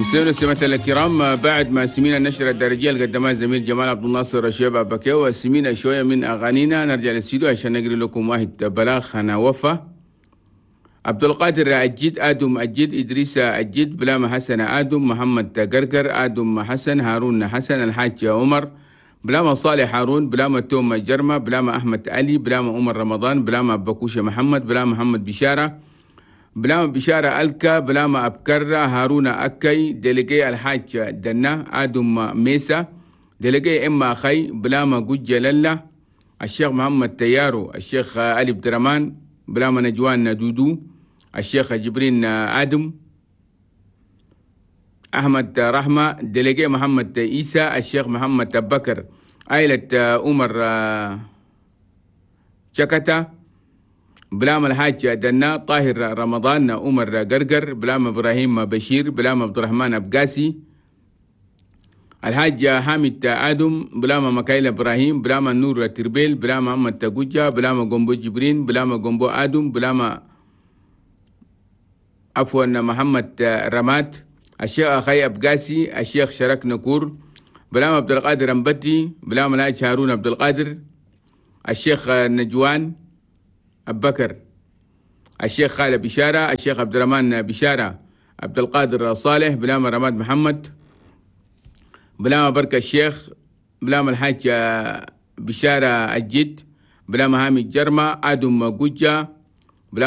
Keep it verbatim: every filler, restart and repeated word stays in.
مستمعينا ومستمعاتنا الكرام، بعد ما سمينا النشرة الدارجية اللي قدمها الزميل جمال عبد الناصر شيبة بكي وسمينا شوية من أغانينا، نرجع للاستديو عشان نقري لكم واحد بلاغ هنا وفاة. عبد القادر الجد، آدم الجد، إدريس الجد، بلامة حسن آدم، محمد قرقر، آدم حسن، هارون حسن، الحاج عمر، بلامة صالح هارون، بلامة توم جرمة، بلامة أحمد علي، بلامة عمر رمضان، بلامة بكوشة محمد، بلامة محمد بشارة، بلامة بشارة ألكا، بلامة أبكرة، هارون أكي، دلقي الحاج دنا، آدم ميسا، دلقي إما أخي، بلامة جوجة للا، الشيخ محمد تيارو، الشيخ علي بدرمان، بلامة نجوان دودو، الشيخ جبرين آدم، أحمد رحمة، دلقي محمد إيسى، الشيخ محمد بكر، عائلة عمر شكتا، بلام الحاج دنا، طاهر رمضان، عمر قرقر، بلام إبراهيم بشير، بلام عبد الرحمن أبقاسي، الحاج حامد آدم، بلام مكايل إبراهيم، بلام نور تربيل، بلام محمد تجوجا، بلام جومبو جبرين، بلام جومبو آدم، بلام عفوا محمد رمات، الشيخ أخي أبقاسي، الشيخ شرك نكور، بلام عبد القادر أمبتي، بلام الحاج هارون عبد القادر، الشيخ نجوان أبكر، الشيخ خالد بشارة، الشيخ عبد الرحمن بشارة، عبد القادر صالح، بلام رماد محمد، بلام بركة الشيخ، بلام الحاج بشارة الجد، بلام هامي الجرمة، آدم جوجا،